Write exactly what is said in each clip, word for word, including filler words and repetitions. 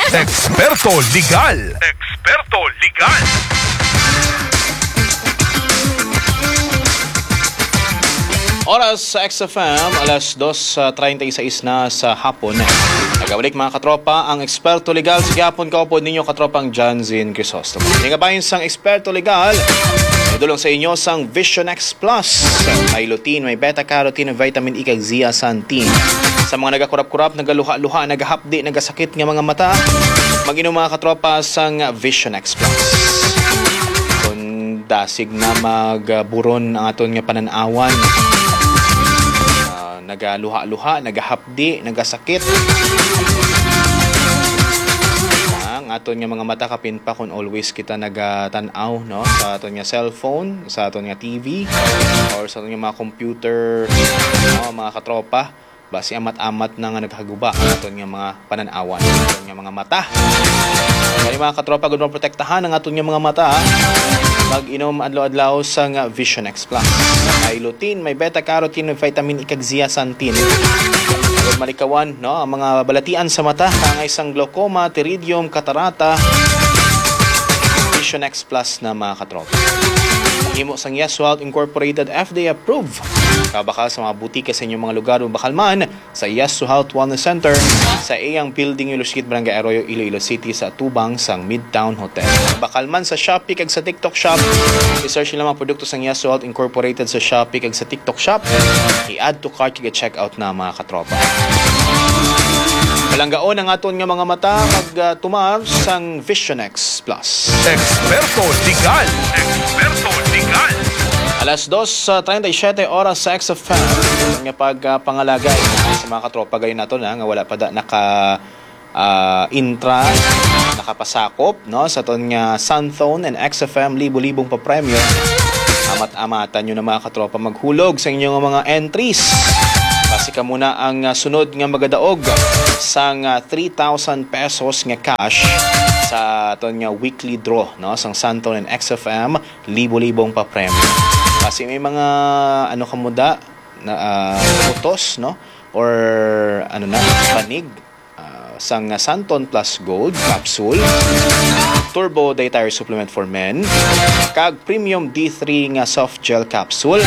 Eksperto Legal. Eksperto Legal. Oras sa X F M, alas dos treinta y seis na sa hapon. Nagabalik, mga katropa, ang Eksperto Legal sa gihapon. Kaupod ninyo, katropang Janzin Crisostomo. Ini nga bahin sang Eksperto Legal, idulong sa inyo sang Vision X Plus. May lutein, may beta carotene, vitamin E, kag zeaxanthin. Sa mga nagakurap-kurap, nagaluha-luha, nagahapdi, nagasakit nga mga mata, mag-inom, mga katropa, sang Vision X Plus. Kung dasig na magburon ang aton nga panan-awan, ah, nagaluha-luha, nagahapdi, nagasakit. Ang aton nga mga mata, kapin pa kung always kita nagatan-aw, no, sa aton nga cellphone, sa aton nga T V, or sa aton nga mga computer, no, mga katropa. Basi amat-amat na nga naghaguba ang aton nga mga panan-awan, aton nga mga mata. Kani, mga katropa, gud maprotektahan ang aton nga mga mata, mag-inom adlaw-adlaw sang Vision X Plus. May lutein, may beta carotene, may vitamin E, kag zeaxanthin. Agud malikawan, no, ang mga balatian sa mata, kaangay sang glaucoma, pterygium, katarata. Vision X Plus na, mga katropa. Himo sang Yes Health Incorporated, F D A approved. Kabakal sa mga butika sa inyong mga lugar, o bakal man sa Yes to Health Wellness Center, sa iyang building, Iloilo Street, Barangay Arroyo, Iloilo City, sa atubang sang Midtown Hotel. Bakal man sa Shopee kag sa TikTok Shop, i-search nila mga produkto sang Yes to Health Incorporated sa Shopee kag sa TikTok Shop. I-add to cart kag i-check out na, mga katropa. Palanggaon ang aton nga mga mata, mag, ah, tumar sang Vision X Plus. Eksperto Legal. Eksperto Legal. Alas dos treinta y siete oras sa X F M. Ang nga pag, ah, pangalagay sa mga katropa gayon nato na nga wala pa da naka, ah, intra, nakapasakop, no, sa ton nga Santone and X F M libo-libong papremyo. Amat-amatan nyo na, mga katropa, maghulog sa inyong mga entries. Basi kamo na ang, ah, sunod nga magadaog sang, ah, three thousand pesos nga cash sa ton nga weekly draw, no, sang Santone and X F M libo-libong papremyo. Basi may mga, ano, kamo da na, ah, utos, no, or, ano na, panig, ah, sang Santone Plus Gold Capsule, Turbo Dietary Supplement for Men, kag Premium D three nga Soft Gel Capsule.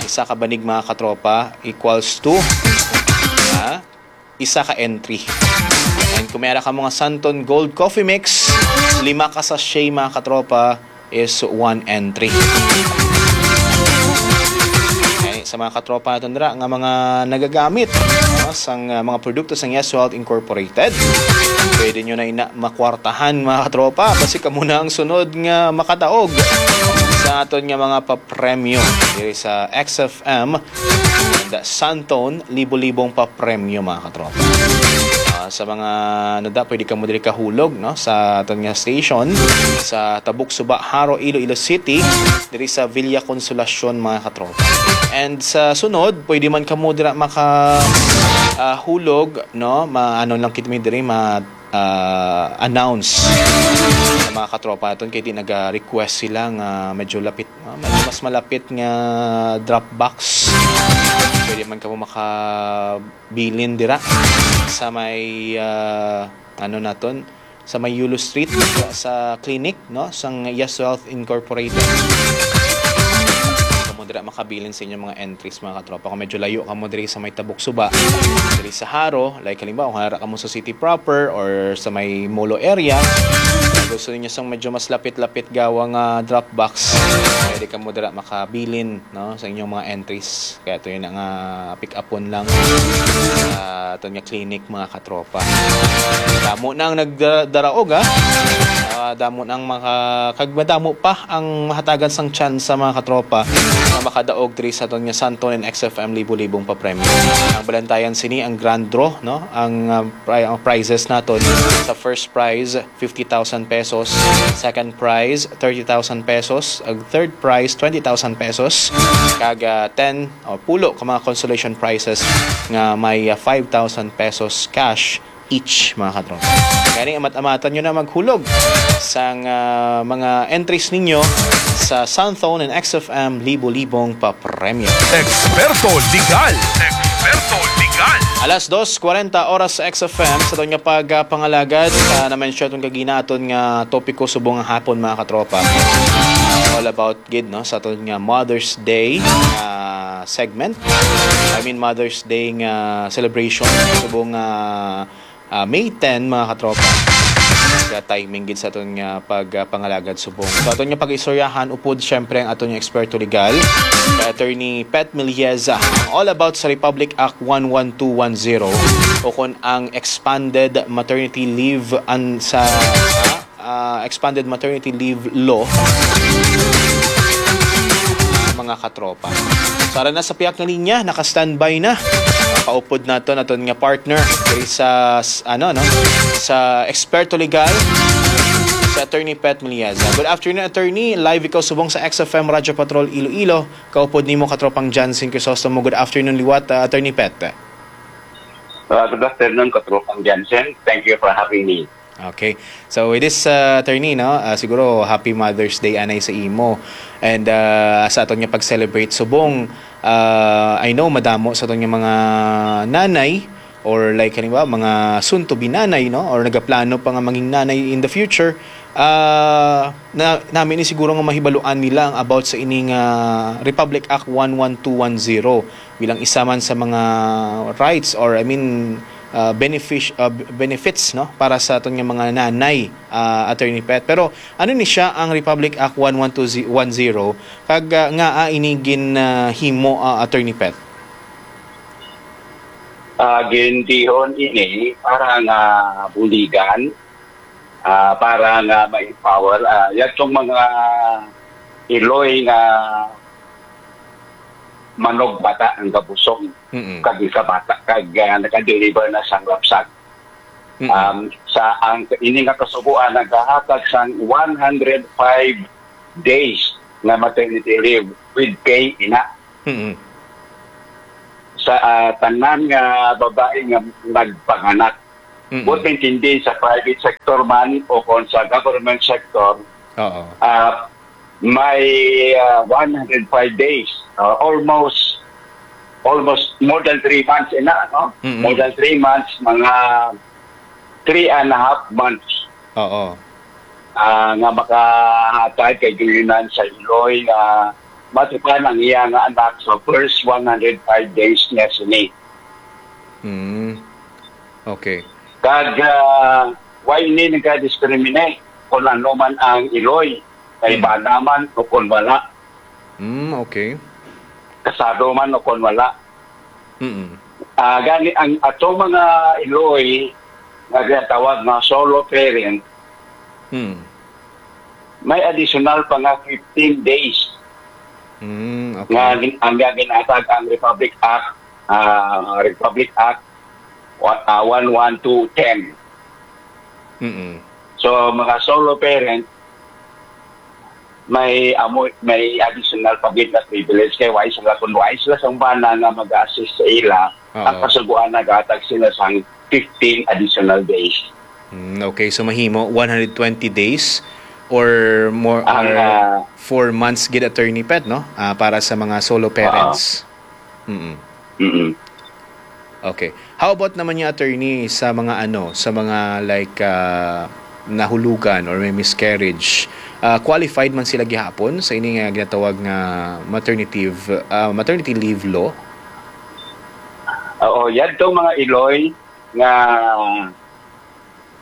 Isa ka banig, mga katropa, equals to, ha, isa ka entry. And kung may ara ka mga Santone Gold Coffee Mix, lima ka sachet, mga katropa, is one entry. Okay, sa mga katropa naton dira nga mga nagagamit, no, sang, uh, mga produkto sang Yes Health Incorporated, pwede nyo na ina makwartahan, mga katropa. Basi kamo na ang sunod nga makadaog sa aton nga mga papremyo diri sa X F M and Santone, libo-libong papremyo, mga katropa. Ah, sa mga nada, pwede kamo diri kahulog, no, sa aton nga station sa Tabuk Suba, Jaro, Iloilo City, diri sa Villa Consolacion, mga katropa. And sa sunod, pwede man kamo dira maka, ah, hulog, no, ma-, ano lang kita mi diri, ma-, ah, announce sa mga katropa naton kay di naga-request sila nga medyo lapit, ah, medyo mas malapit nga drop box. Pwede man kamo makabilin dira sa may, ah, ano naton, sa may Yulo Street, sa, sa clinic, no, sang Yes Health Incorporated. Kamo dira makabilin sa inyong mga entries, mga katropa. Kung medyo layo kamo diri sa may Tabuk Suba, diri sa Jaro, like halimbawa, kung ara kamo sa city proper or sa may Molo area, gusto ninyo sang medyo mas lapit-lapit gawa nga drop box, pwede kamo dira makabilin, no, sa inyong mga entries. Kaya ito yun nga pick upon lang, ah, ito nga clinic, mga katropa. Damo na ang nagdaraog, ha? Ah, damo na ang maka-, kag madamo pa ang mahatagan sang tsansa, mga katropa, nga makadaog diri sa aton nga Santone and X F M libo-libong papremyo. Ang balantayan sini ang grand draw, no? Ang, ah, pri-, ang prizes naton sa first prize, fifty thousand pesos, second prize, thirty thousand pesos, ang third prize, twenty thousand pesos, kag, ah, ten o pulo ka mga consolation prizes nga may, ah, five thousand pesos cash each, mga katropa. Kani, amat-amatan nyo na maghulog sang, ah, mga entries ninyo sa Santone and X F M libo-libong papremyo. Eksperto Legal. Eksperto Legal. Alas dos kwarenta oras sa X F M, sa aton nga pagpangalagad sa na-mention aton kagina, aton nga topiko subong nga hapon, mga katropa. All about gid, no, sa aton nga Mother's Day nga segment. I mean, Mother's Day nga celebration subong nga, ah, May ten, mga katropa. Kaya timing gid sa aton nga pagpangalagad subong. So, aton nga pag-istoryahan upod, syempre, ang aton nga eksperto legal, kay Attorney Pet Milieza, ang all about sa Republic Act one one two one zero, o kon ang expanded maternity leave an sa, ah, ah, expanded maternity leave law, mga katropa. So, ara na sa piyak nga linya, naka-standby na. Paupod naton aton nga partner diri sa, s-, ano, no, sa eksperto legal, sa Attorney Pet Milieza. Good afternoon, Attorney. Live ikaw subong sa X F M Radyo Patrol Iloilo. Kaupod nimo, katropang Jansen Crisostomo. Good afternoon liwat, ah, Attorney Pet. Uh, good afternoon, Katropang Jansen. Thank you for having me. Okay. So, with this, uh, Attorney, no, uh, siguro happy Mother's Day anay sa imo. And, uh, sa aton nga pag-celebrate subong, uh, I know madamo sa aton nga mga nanay, or, like, halimbawa, mga soon to be nanay, no, or nagaplano pa nga maging nanay in the future, uh, na, nami ni siguro nga mahibaluan nila ang about sa ining, uh, Republic Act one one two one zero bilang isa man sa mga rights, or, I mean, uh, benefic-, uh, b-, benefits, no, para sa aton nga mga nanay, uh, Attorney Pet. Pero ano ni siya ang Republic Act one one two one zero, kag, uh, ngaa ini gin, uh, himo, uh, Attorney Pet? Ah, gindihon ini para nga buligan, ah, para nga ma-empower, ah, yadtong mga iloy nga manugbata ang kabusog, Mm-mm. kag ikabata, kag, ah, naka-deliver na sang lapsag. Mm-mm. Um, sa ang, ini nga kasugoan nagahatag sang one hundred five days nga maternity leave with pay, ina. Mm-mm. Sa, ah, tanan nga babae nga nagpanganak. Mm-mm. Buot maintindi, sa private sector man o kon sa government sector, Oo. ah, may, ah, one hundred five days, ah, almost, almost more than three months, ina, no? Mm-mm. More than three months, mga three and a half months. Oo. Ah, nga makahatag kay gilingan sa iloy nga matukan ang iya nga anak sa first one hundred five days niya sini. Mm. Okay. Kag, ah, why ini nagka-discriminate kung ano man ang iloy, may Mm. bana man o kung wala, Mm, okay. kasado man o kung wala? Mm. Ah, gani ang atong mga iloy nga ginatawag nga solo parent, Mm. may additional pa nga fifteen days Mm, okay. nga gin-, ang nga ginatag ang Republic Act, ah, Republic Act, wa-, ah, one one two ten. Mm-mm. So, mga solo parent, may amo, may additional pa gid na privilege kay wala sila, kung wala sila sang bana nga mag-assist sa ila, Oo. ang kasugoan nagahatag sila sang fifteen additional days. Mm, okay, so mahimo one hundred twenty days or more, Ang, or ah, four months gid, Attorney Pet, no? Ah, para sa mga solo Oo. parents. Mm-mm. Mm-mm. Okay. How about naman yung, Attorney, sa mga ano, sa mga, like, ah, nahulugan or may miscarriage? Ah, qualified man sila gihapon sa ini nga ginatawag nga maternity, ah, maternity leave law? Oo, yadtong mga iloy nga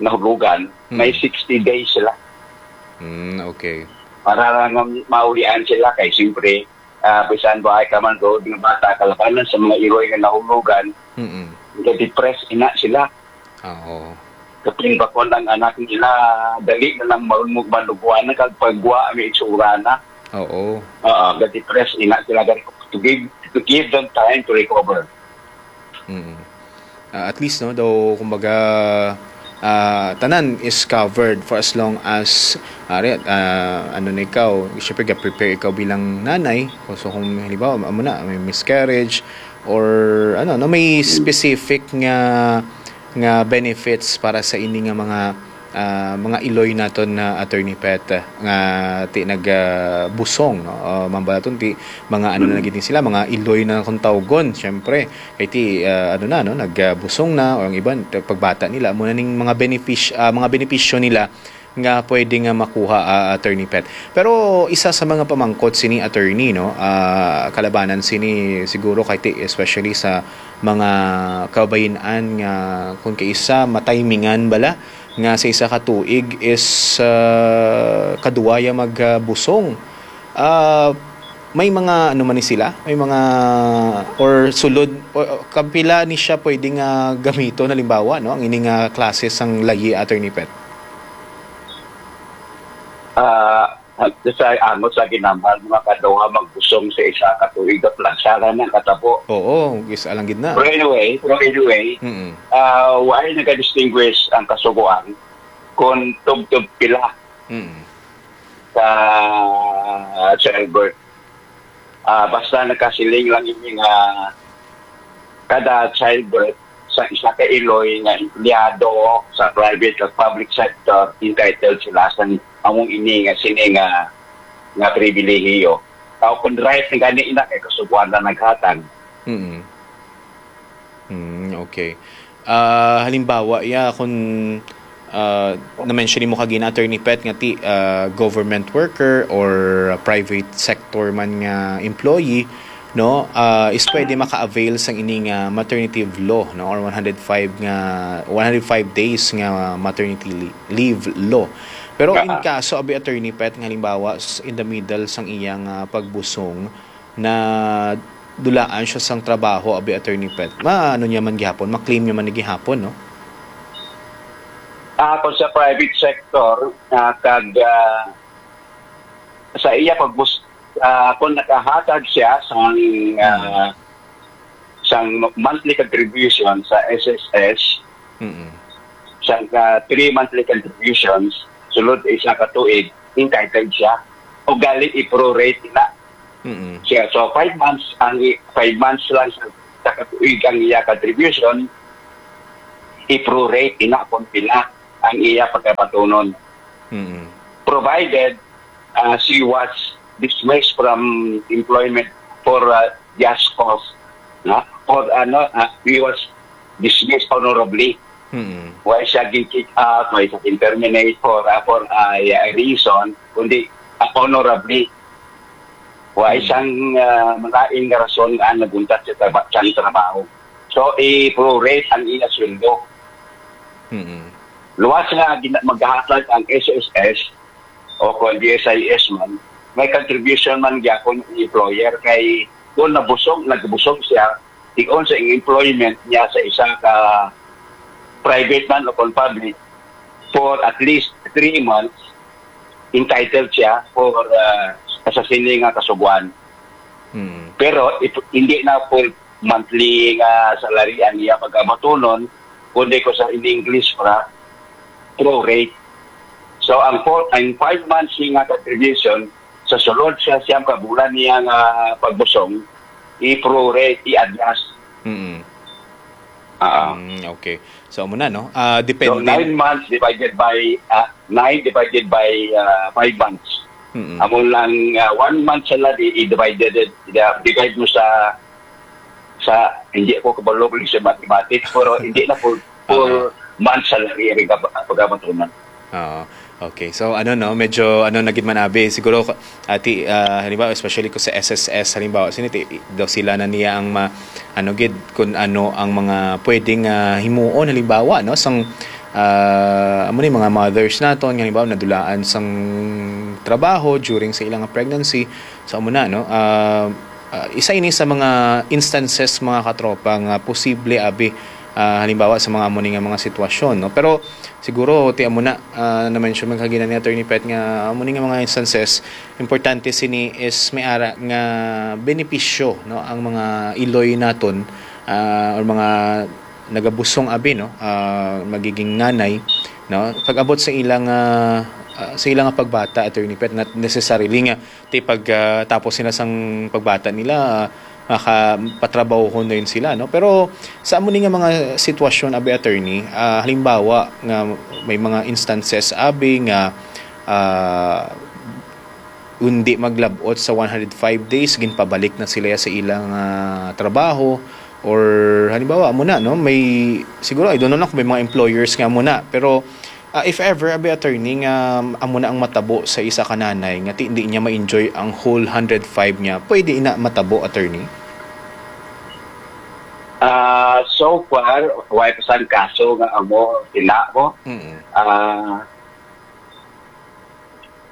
nahulugan, may Hmm. sixty days sila. Hmm, okay. Para lang nga maulian sila kay siyempre, ah, bisan ba ay ka man tuod nga bata, kalabanan sa mga iloy nga nahulugan, Mm-mm. ga-depress ina sila. Ah, oo. Kapin ba kon ang anak nila, dali na lang marunong manuguan na kag pagwa ang itsura na. Oo. Oo, ga-depress ina sila. Gani, to give, to give them time to recover. Mm. Ah, at least, no, daw, kumbaga, ah, tanan is covered for as long as, ari, ah, ano na ikaw, syempre, ga-prepare ikaw bilang nanay. So, kung halimbawa, amo na, may miscarriage, or, ano, no, may specific nga, nga benefits para sa ini nga mga, ah, mga iloy naton na, Attorney Pet, nga ti nag, ah, busong, no? Ah, mambalaton ti mga ano na gid ni sila, mga iloy na kung tawgon, syempre. Kay ti, ah, ano na, no, nag, ah, busong na, o ang iban, pagbata nila, amo na ning mga benefis-, ah, mga benepisyo nila nga pwede nga makuha, ah, Attorney Pet. Pero isa sa mga pamangkot sini, Attorney, no, ah, kalabanan sini siguro kay ti, especially sa mga kababayen-an nga kung kaisa matimingan bala nga sa isa ka tuig is, ah, kaduwa ya magbusong. Ah, may mga ano man ni sila, may mga or sulod, o, kapila ni siya pwede nga gamiton, halimbawa, no, ang ini nga klase sang layi, Attorney Pet? Ah, sa angot sa ginambal, mga kaduha magbusong sa isa ka tuig at lang sara na katabo. Oo, is alang gid na. Pero anyway, pero anyway, Mm-mm. ah, why nag-distinguish ang kasugoan kung tubtob pila Mm. sa childbirth? Ah, basta nagkasiling lang ini nga kada childbirth sa isa ka iloy nga empleyado sa private ug public sector, entitled sila sa among ini nga sini nga nga pribilehiyo. Tao kun right ni gani ina kay kasubuan na naghatag. Mm. Mm, okay. Ah, halimbawa, ya, kung, ah, na-mention mo kagina, Attorney Pet, nga ti, ah, government worker or private sector man nga employee, no, ah, is pwede maka-avail sang ini nga maternity law, no, or one hundred five nga, one hundred five days nga maternity li-, leave law. Pero in Ah. kaso, abi, Attorney Pet, nga halimbawa, s-, in the middle sang iyang, ah, pagbusong, na dulaan siya sang trabaho, abi, Attorney Pet. Ma-, ano niya man gihapon, ma-claim niya man ni gihapon, no? Ah, kung sa private sector, ah, kag, ah, sa iya pagbus-, ah, kung nakahatag siya sang, ah, sang monthly contribution sa S S S, Mm-mm. sang, ah, three monthly contributions, sulod isa ka tuig, entitled siya. O gali i-prorate na Mm-mm. siya. So, five months ang i-, five months lang sa, sa katuig ang iya contribution, i-prorate ina kung pila ang iya pagkabatunon. Mm-mm. Provided, ah, she was dismissed from employment for, ah, just cause, no? For, ano, ah, he was dismissed honorably. Mm-mm. Why siya gin-kick out, why siya gin-terminate for, ah, for, ah, a reason, kundi, ah, honorably. Wa Mm. isang, ah, malain nga rason nga nagbuntat sa traba-, sa trabaho. So, i-prorate ang iya sweldo. Mm-mm. Luwas nga gina-, maghahatag ang S S S o kung D S I S man, may contribution man gyapon ang employer kay kung nabusog, nagbusog siya, tig-on sa employment niya sa isa ka private man o kung public for at least three months, entitled siya for, ah, sa sini nga kasuguan. Mm. Pero it, hindi na full monthly nga salary ang iya pagkabatunon, kundi ko sa in English para prorate. So ang four, ang five months nga contribution sa sulod sa siyam ka bulan niya nga pagbusong, i-prorate, i-adjust. Mm. Ah. Mm, okay. So amo na, no? Ah, So depending. nine months divided by, ah, nine divided by, ah, five months. Mm-mm. Amo lang, ah, one month salary i-divided, i-divide mo sa, sa, hindi ako kabalo sa mathematics, pero hindi na full, full Uh-huh. month salary ang pag-, pagkabatunan. Oo. Okay. So ano, no, medyo ano na gid man abi siguro, ati, ah, halimbawa, especially ko sa S S S, halimbawa, sini ti, daw sila na niya ang ma-, ano gid, kung ano ang mga pwedeng, ah, himuon, halimbawa, no, sang, ah, amo ni mga mothers naton nga halimbawa nadulaan sang trabaho during sa ilang pregnancy. So amo na, no, ah, ah, isa ini sa mga instances, mga katropa, nga posible abi, ah, halimbawa sa mga amo ni nga mga sitwasyon, no. Pero siguro ti amo na, ah, na-mention man kagina ni Attorney Pet nga amo ni nga mga instances, importante sini is may ara nga benepisyo, no, ang mga iloy naton, ah, or mga nagabusong abi, no, ah, magiging nanay, no, pag-abot sa ilang, ah, ah, sa ilang pagbata, Attorney Pet, not necessarily nga ti pag, ah, tapos nila sang pagbata nila, ah, makapatrabahon na yun sila, no? Pero sa amo ni nga mga sitwasyon, abi, attorney, ah, halimbawa nga may mga instances, abi, nga, ah, hindi maglabot sa one hundred five days, ginpabalik na sila sa ilang, ah, trabaho, or halimbawa, amo na, no? May, siguro, I don't know lang kung may mga employers nga amo na, pero Ah, if ever, abi, attorney, nga amo na ang matabo sa isa ka nanay nga ti-, hindi niya ma-enjoy ang whole hundred five niya, pwede ina matabo, attorney? Ah, so far, way pa sang kaso nga amo sila mo. Mm. Ah,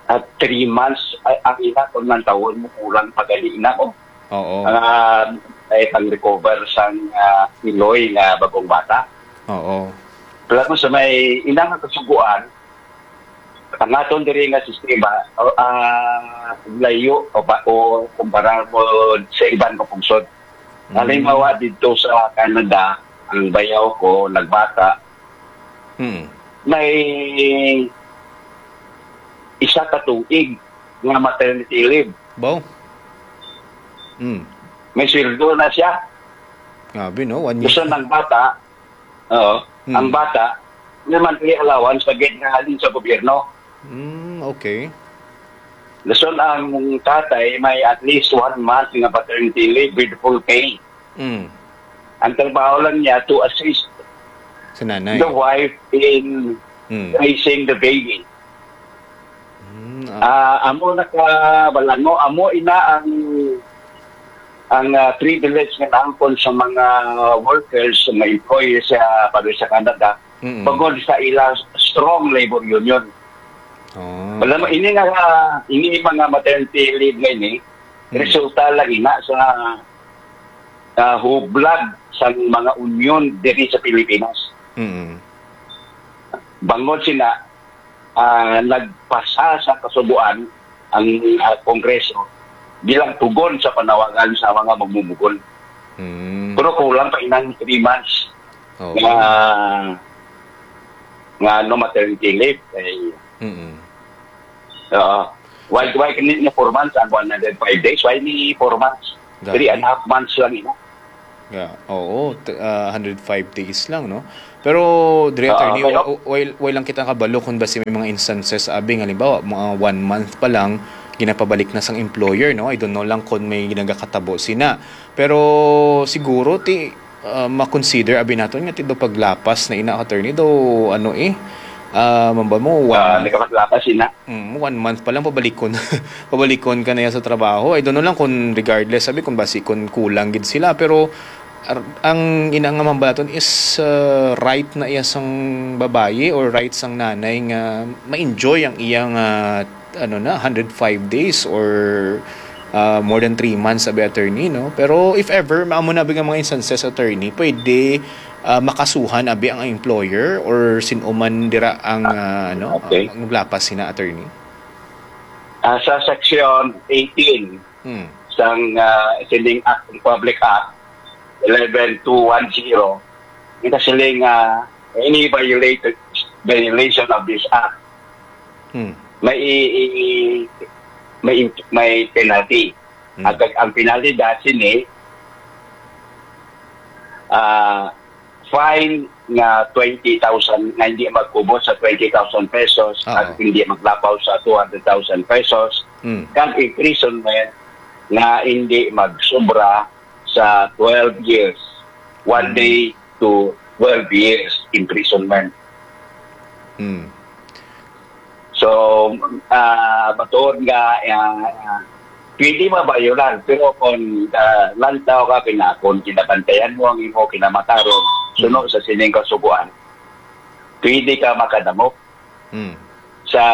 at three months, ay, ang ina kung nang taon mo kulang pa gali na ko. Oo. Ah, ay pang recover sang ah, iloy nga bagong bata. Oo. Wala mo sa may ina nga kasuguan, ang aton diri nga sistema, o, ah, layo o, ba, o kumpara mo sa iban nga pungsod. Mm. Halimbawa, dito sa Canada, ang bayaw ko nagbata, Mm. may isa ka tuig nga maternity leave. Baw? Mm. May sweldo na siya. Grabe, no? One year. Gusto ng bata, oo, Hmm. ang bata, may monthly allowance na gid nga halin sa gobyerno. Mm, okay. Gusto ang tatay may at least one month nga paternity leave with full pay. Mm. Ang trabaho lang niya to assist Sa nanay. the wife in Mm. raising the baby. Mm, ah, Ah, amo nakabalango, amo ina ang ang ah, privilege nga naangkon sa mga workers, sa mga employees sa Paris sa Canada, mm. bangod sa ila strong labor union. Oh. Wala mo, ini nga, ah, ini mga maternity leave nga ini, Hmm. resulta lang ina sa ah, hublag sa mga union diri sa Pilipinas. Mm. Bangod sina ah, nagpasa sa kasubuan ang ah, Kongreso bilang tugon sa panawagan sa mga magmumugon. Mm. Pero kulang pa inang three months Oo. nga nga no maternity leave. Eh, Mm. oo. Why, why ni, ni four months and one hundred five days? Why ni four months? Grabe. Three and a half months lang ina. Yeah. Oo, t- ah, hundred five days lang, no? Pero, Dre, Oo, attorney, pero wa- wa- wala lang kita kabalo kung basi may mga instances, abi, nga, halimbawa, mga one month pa lang, ginapabalik na sang employer, no? I don't know lang kung may ginagakatabo sina. Pero, siguro, ti, ah, ma-consider, abi, naton nga ti do paglapas na ina, attorney, do, ano, eh, ah, mamba mo, one Ah, month. Nagkapaglapas ina. Mm, one month pa lang, pabalikon. Pabalikon ka na yan sa trabaho. I don't know lang kung regardless, sabi, kung basi kung kulang gid sila. Pero ar- ang ina nga mambalaton is uh, right na iya sang babayi or right sang nanay nga ma-enjoy ang iyang uh, ano na, hundred five days or uh, more than three months, sabi, attorney, no? Pero if ever, maamo na abi nga mga instances, attorney, pwede uh, makasuhan abi ang employer or sin-o man dira ang uh, ano, Okay. ang naglapas sina, attorney. Ah, sa section eighteen Hmm. sang ah, sining Act, Republic Act eleven two one zero, kita siling ah, any violate, violation of this act, Hmm. may i- i- may in- may penalty. Hmm. At ang, ang penalty dahil sini ah fine nga twenty thousand, nga hindi magkubot sa twenty thousand pesos, Oo. At hindi maglapaw sa two hundred thousand pesos, Hmm. kag imprisonment nga hindi magsubra sa twelve years, one Hmm. day to twelve years imprisonment. Hmm. So, ah, matuod nga ah, pwede mabayolar, pero kung ah, lantaw ka, kinakon, kinabantayan mo ang imo kinamataron, suno sa sining kasuguan, pwede ka makadamop Hmm. sa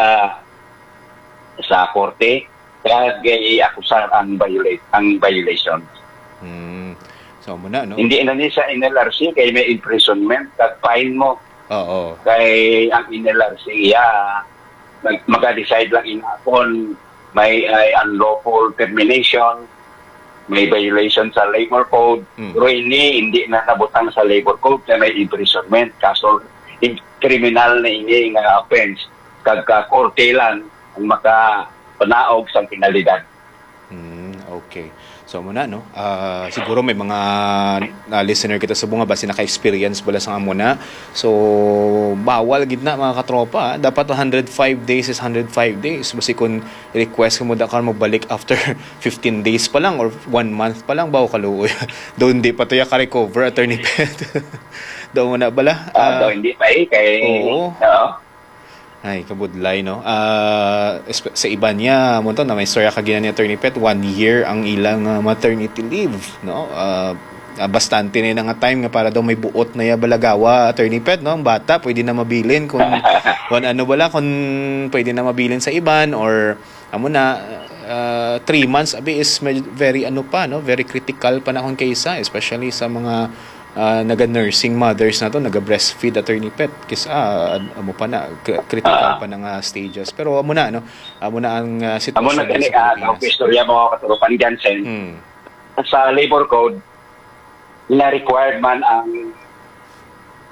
sa korte kag i-akusar ang violate ang violation. Hmm. So, muna, no? Hindi na ni sa N L R C kay may imprisonment kag fine mo. Oo. Kay ang N L R C iya mag- maka-decide lang ina kon may ay unlawful termination, may violation sa labor code. Mm. Pero ini hindi na nabutang sa labor code kay may imprisonment. Kaso in- kriminal na ini nga offense. Kag ka korte lang ang makapanaog sa penalidad. Hmm, okay. So, amo na, no? Ah, siguro may mga, ah, listener kita sa bunga, basi naka-experience bala sa amo na. So, bawal gid na, mga katropa, ah. Dapat one hundred five days is one hundred five days. Basi kung request mo da ka mabalik after fifteen days pa lang or one month pa lang, bawo kaluoy. Doon di pa to ya ka-recover, Attorney Pet. Doon mo na bala. Ah, Ah, daw hindi pa eh, kay, oo. Oo. Ay, kabudlay, no? Ah, espe-, sa iban niya, mo to, na may istorya ka gina ni Attorney Pet, one year ang ilang, ah, maternity leave, no? Ah, ah, bastante na yun nga time nga para daw may buot na ya balagawa, Attorney Pet, no? Ang bata, pwede na mabilin kung, kung ano bala, kung pwede na mabilin sa iban or, amo na, ah, three months, abi, is med-, very, ano pa, no? Very critical pa na kung kaysa, especially sa mga, ah, naga-nursing mothers na to, naga-breastfeed, Attorney Pet. Kis-, ah, ad-, amo pa na, kri-, critical Ah. pa na nga stages. Pero amo na, no? Amo na ang, ah, Amo na sitwasyon gani, sa ah, Pilipinas. Ang istorya mo, Katropang Jansen. Hmm. Sa labor code, na-required man ang,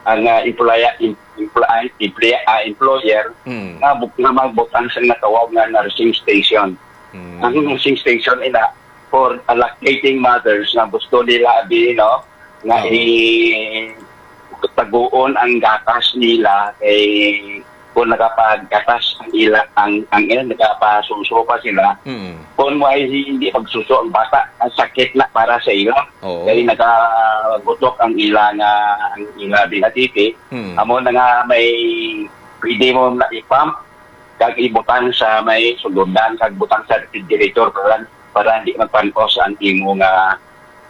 ang, ah, employer, em-, empl-, ah, emple-, ah, employer Hmm. nga bu-, nga magbutang sa natawag nga nursing station. Hmm. Ang nursing station ina for lactating mothers nga gusto nila abi, no, nga Oo. i-, taguon ang gatas nila kay kung nagapagatas ang ila, ang, ang, eh, nagapasuso pa sila, Mm. kung may hindi pagsuso ang bata, ang sakit na para sa ila. Oo. Kay nagagutok ang ila nga, ang ila binatiti. Mm. Amo na nga may pwede mo na i-pump, kag ibutang sa may sugodan, kag butang sa refrigerator para, para hindi magpanos ang imo nga,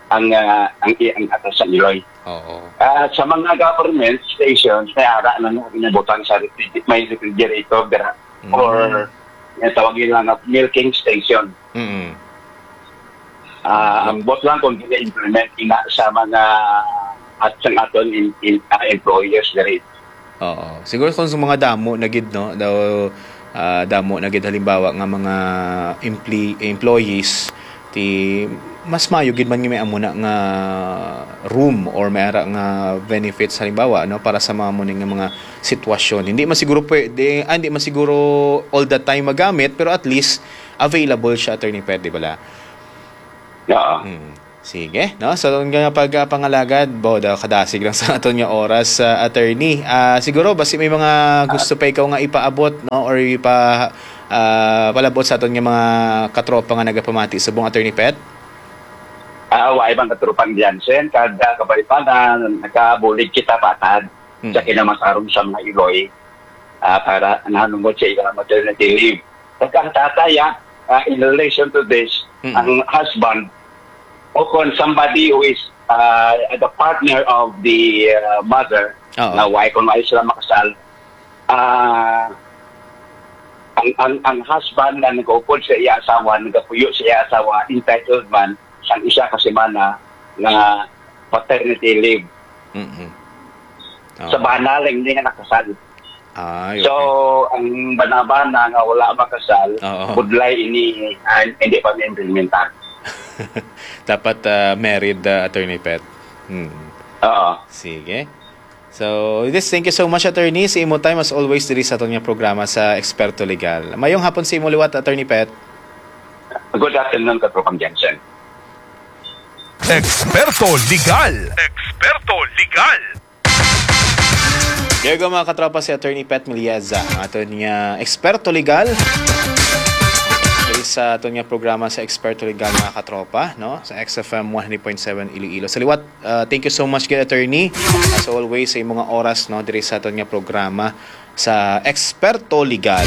ang, ah, ang, ang atas sa iloy. Oo. Ah, sa mga government stations, may ara na nga ginabutang sa refrigerator, may refrigerator dira, Mm. or may tawag nila nga milking station. Mm. Ah, Mm. ambot lang kung gina-implement ina sa mga at sa aton in, in, ah, employers diri. Oo. Siguro kung sa mga damo na gid, no, daw, ah, damo na gid halimbawa nga mga empli-, employees, ti mas maayo gid man nga may amo na nga room or may ara nga benefits halimbawa, no, para sa mga amo ni nga mga sitwasyon. Hindi man siguro pwede, ah, hindi man siguro all the time magamit, pero at least available siya, Attorney Pet, di bala? Oo. Hmm. Sige, no? Sa aton nga pagpangalagad, bo, daw kadasig lang sa aton nga oras, ah, attorney. Ah, siguro, basi may mga gusto pa ikaw nga ipaabot, no? Or ipa-, ah, palabot sa aton nga mga katropa nga nagapamati subong, Attorney Pet? Ah, wa ibang katropang Jansen, kada kabalipanan, nakabulig kita patad Mm. sa kinamatarong sa mga iloy, ah, para nahanungod sa ilang maternity leave. Pagka ang tatay, ah, ah, in relation to this, Mm. ang husband, o kung somebody who is, ah, the partner of the, ah, mother, Oo. na why kung why sila makasal, ah, ang, ang, ang husband na nag-upod sa iya asawa, nagapuyo sa iya asawa, entitled man sang isa ka semana nga paternity leave. Mm-mm. Sa Oo. bana lang, hindi nga nakasal. Ay, So, okay. ang bana-bana nga wala makasal, Oo. budlay ini, ah, hindi pa ma-implementar. Dapat, ah, married, ah, Attorney Pet. Hmm. Oo. Sige. So, this, thank you so much, Attorney, sa imo time, as always, diri sa aton nga programa sa Eksperto Legal. Mayong hapon sa imo liwat, Attorney Pet. Good afternoon, Katropang Jansen. Eksperto Legal. Eksperto Legal. There go, mga katropa, si Attorney Pet Milieza, ang aton nga eksperto legal. Diri sa aton nga programa sa Eksperto Legal, mga katropa, no? Sa X F M one hundred point seven Iloilo. Sa liwat, uh, thank you so much, gid, Attorney. As always, sa imong oras, no, diri sa aton nga programa sa Eksperto Legal.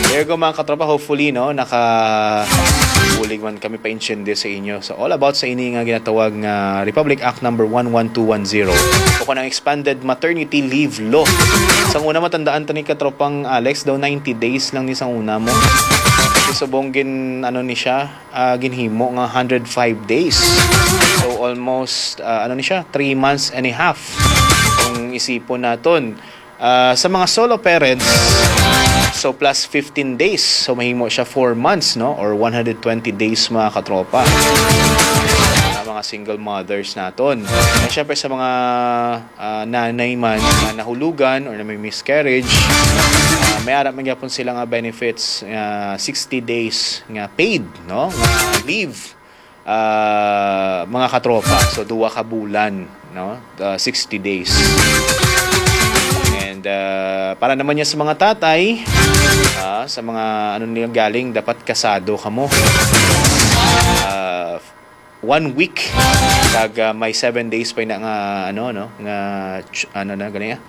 There go, mga katropa, hopefully, no, nakabulig man kami pa-intindi sa inyo. So, all about sa ini nga ginatawag nga Republic Act number one one two one zero, o kung ang expanded maternity leave law. Sang una, matandaan ta ni katropang Alex, daw ninety days lang ni sang una mo. Kasi subong gin, ano ni siya, ah, ginhimo nga hundred five days. So, almost, ah, ano ni siya, three months and a half. Kung isipon naton, ah, sa mga solo parents, so plus fifteen days. So, mahimo siya four months, no? Or one hundred twenty days, mga katropa. Sa mga single mothers naton. And syempre sa mga ah, nanay man nga nahulugan or na may miscarriage, ah, may ara man gyapon sila nga benefits nga sixty days nga paid, no? Nga leave, ah, mga katropa. So, duwa ka bulan, no? Ah, sixty days. And ah, para naman niya sa mga tatay, ah, sa mga ano nila galing, dapat kasado kamo. Ah, one week, kag ah, may seven days pa na nga ano, no, nga ch- ano na gani, ah?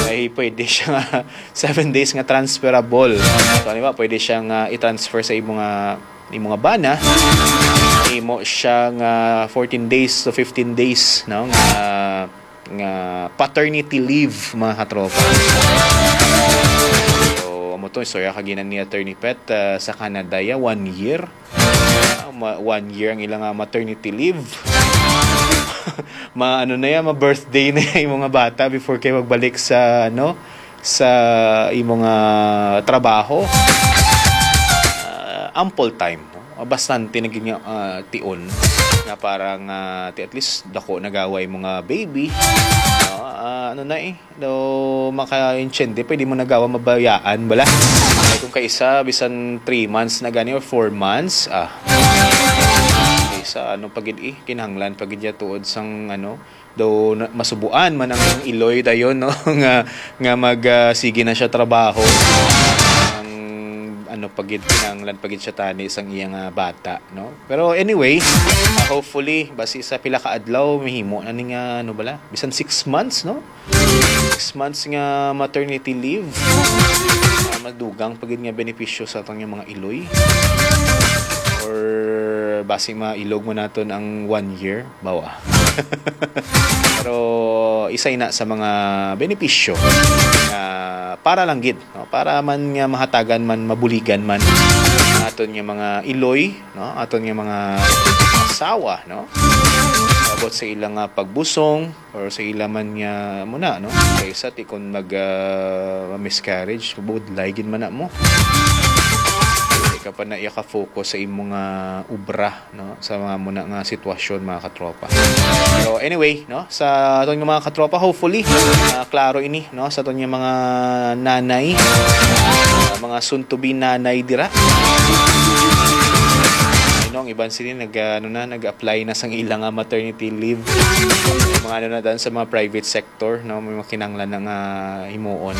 May pwede siya nga seven days nga transferable. So, di ba, pwede siya nga i-transfer sa imo nga imo nga bana, imo siya nga fourteen days to fifteen days, no, nga nga paternity leave, mga katropa. So, amo to, istorya ka ginan ni Attorney Pet, ah, sa Canada ya, one year. Ah, ma- one year ang ilang ah, maternity leave. Ma ano na yan, ma birthday na yan yung mga bata before kayo magbalik sa ano, sa imo nga trabaho. Ah, ample time, no? Ah, bastante na gid nga ah, tion nga parang ah, ti at least dako nagawa yung mga baby, no? Ah, ano na eh, do makaintindi, pwede mo nagawa mabayaan bala. Ay, kung kaisa bisan three months na gani or four months, ah, isa ano pa gid eh, kinahanglan pa gid ya tuod sang ano, do na- masubuan man ang iloy dayon, no? nga nga mag ah, sige na siya trabaho. Ang ano pa gid, kinahanglan pa gid siya tani sang iya nga bata, no? Pero anyway, ah, hopefully basi sa pila ka adlaw mahimo na ni nga ano bala, bisan six months, no? Six months nga maternity leave, ah, madugang pa gid nga benepisyo sa atong mga iloy. Or basi mailog mo naton ang one year, bawa. Pero isa ina sa mga benepisyo nga para lang gid, no? Para man nga mahatagan man, mabuligan man aton nga mga iloy, no? Aton nga mga asawa, no? Abot sa ilang nga pagbusong or sa ila man nga muna, no? Kaysa ti kon mag ah, miscarriage, budlay gid man na mo. Di ka pa na iya ka-focus sa imo nga obra, no? Sa mga muna nga sitwasyon, mga katropa. Pero anyway, no? Sa aton nga mga katropa, hopefully ah, klaro ini, no? Sa aton nga mga nanay, ah, mga soon to be nanay dira. You know, ang iban sini nag ah, ano na, nag-apply na sang ilang ah, maternity leave. Mga ano na dan sa mga private sector, no? May mga kinahanglan na nga himuon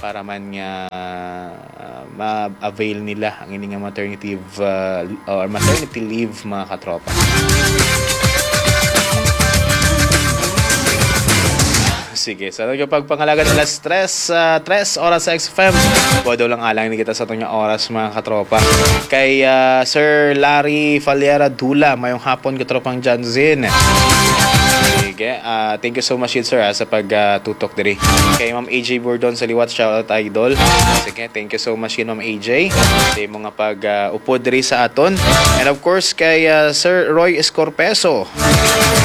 para man nga ah, ma-avail nila ang ini nga maternity uh, or maternity leave, mga katropa. Sige, sa aton pagpangalagad alas tres, ah, tres oras sa X F M. Bodo lang alang ni kita sa aton nga oras, mga katropa. Kay ah, Sir Larry Faliera Dula, mayong hapon, katropang Janzin. Sige, ah, thank you so much, yun, sir, ah, sa pag ah, tutok diri. Kay Ma'am A J Bordon sa liwat, shout out, idol. Sige, thank you so much, yun, Ma'am A J, sa imo nga pag ah, upod diri sa aton. And of course, kay ah, Sir Roy Escorpeso,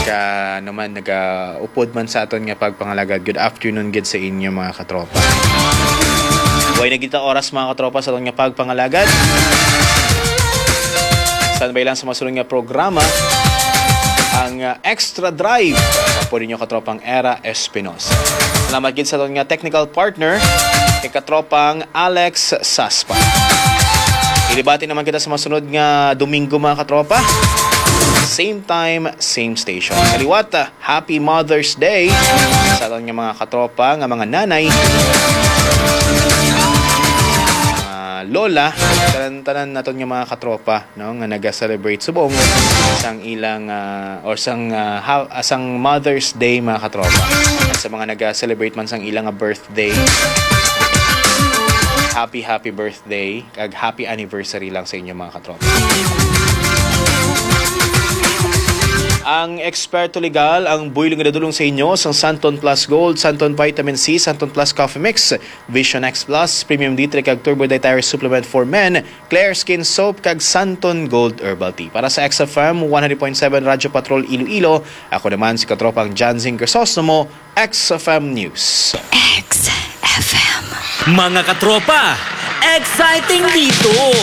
ka naman nagaupod man sa aton nga pagpangalagad. Good afternoon gid sa inyo, mga katropa. Way na kita oras, mga katropa, sa aton nga pagpangalagad. Standby lang sa masunod nga programa, ang ah, Extra Drive. Pwede nyo katropang Era Espinosa. Salamat gid sa aton nga technical partner, kay katropang Alex Saspa. Ilibati naman kita sa masunod nga Domingo, mga katropa. Same time, same station. Kaliwat, ah, Happy Mother's Day sa aton nga mga katropa nga mga nanay, mga lola, tanan-tanan naton nga mga katropa, no, nga naga-celebrate subong sang ilang ah, or sang ah, ha- ah, sang Mother's Day, mga katropa. Sa mga naga-celebrate man sang ilang nga birthday, happy happy birthday kag happy anniversary lang sa inyo, mga katropa. Ang eksperto legal, ang buylog nga dadulong sa inyo sang Santon Plus Gold, Santon Vitamin C, Santon Plus Coffee Mix, Vision X Plus, Premium D three kag Turbo Dietary Supplement for Men, Clear Skin Soap, kag Santon Gold Herbal Tea. Para sa X F M one hundred point seven Radyo Patrol Iloilo, ako naman si katropang Janzing Crisostomo, X F M News. X F M. Mga katropa, exciting dito!